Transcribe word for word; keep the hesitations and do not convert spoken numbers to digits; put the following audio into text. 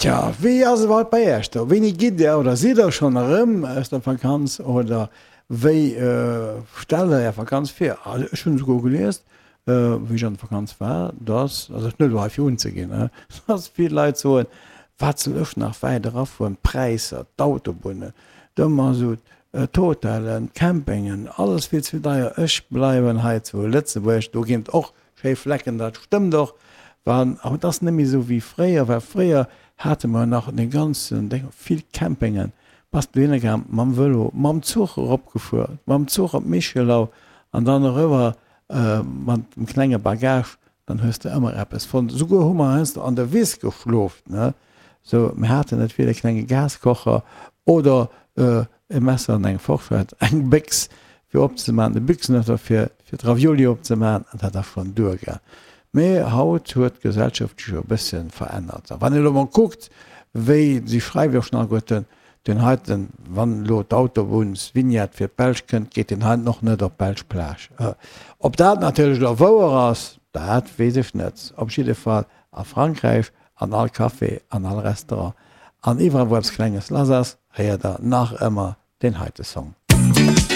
Tja, wéi ass et iwwerhaupt bei Iech do? Wéini gitt Dir oder sidd Der schonn erëm aus der Vakanz oder wéi stellt Der Är Vakanz vir? Also ech hunn esouguer gelies, wéi ech an der Vakanz war, dass, also net elo hei fir unzeginn, dass vill Leit soen, wat soll ech nach wäit erafueren, d'Präisser, d'Autobunnen, de Masutt, d'Hotellen, d'Campingen, alles vill ze deier, ech bleiwen hei zu Lëtzebuerg, do ginn et och schéi Flecken, dat stëmmt och, wann, awer et ass net méi esou wéi fréier, well fréier hate mer nach dee ganzen Déng, vill Campingen, bass dohinner gaang mam Vëlo, mam Zuch eropgefuer, mam Zuch op Michelau an dann eriwwer mat dem klenge Bagage, dann hues de ëmmer eppes fonnt. Souguer hu mer heiansdo an der Wiss geschlof, ne, sou, mir haten net vill, e klenge Gaskocher oder e Messer an eng Forschett, eng Béchs fir opzemaachen, e Büchsenöffner fir fir d'Ravioli opzemaachen, an dat ass schonn duergaang. Mee haut huet d'Gesellschaft sech jo e bësse verännert. A wann een elo mol kuckt, wéi, si schreiwe jo schonn alleguerten, deen heiten, wann elo d'Autobunnsvignette fir d'Belsch kënnt, geet deen heiten och net op d'belsch Plage. Ob dat natierlech elo wouer ass, dat weess ech net. Op jidde Fall a Frankräich an all Café, an all Restaurant an iwwerall wou eppes Klenges lass ass, héiert der nach ëmmer deen heite Song.